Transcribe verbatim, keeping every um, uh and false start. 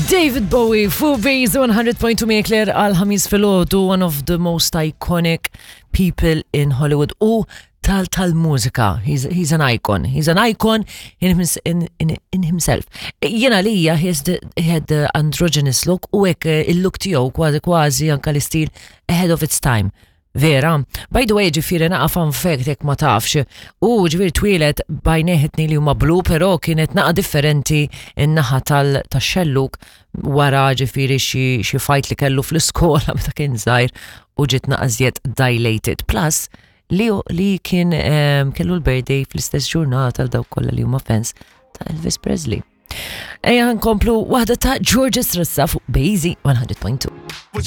David Bowie fuq Base one hundred point two me Claire għal Ħamis filgħodu, one of the most iconic people in Hollywood u tal tal-mużika. He's, he's an icon. He's an icon in, his, in, in, in himself. Jena lija, he, has the, he had the androgynous look u hekk eh, il-look tiegħu kważi kważi anka l-istil ahead of its time. Vera. By the way, ġifieri naqa fun fact jekk ma tafx, u ġifieri twieled b'għajnejh it-tnejn li huma blu, pero kienet naqa differenti in-naħa tal-xelluk wara ġifieri xi xi fight li kellu fl-iskola meta kien żgħir u ġiet naqa żjed dilated. Plus, li, li kien um, kellu l-birthday fl-istess ġurnata għal dawk kollha li huma fans ta' Elvis Presley. Ejja nkomplu waħda ta' George Strassa fuq Base one hundred point two. What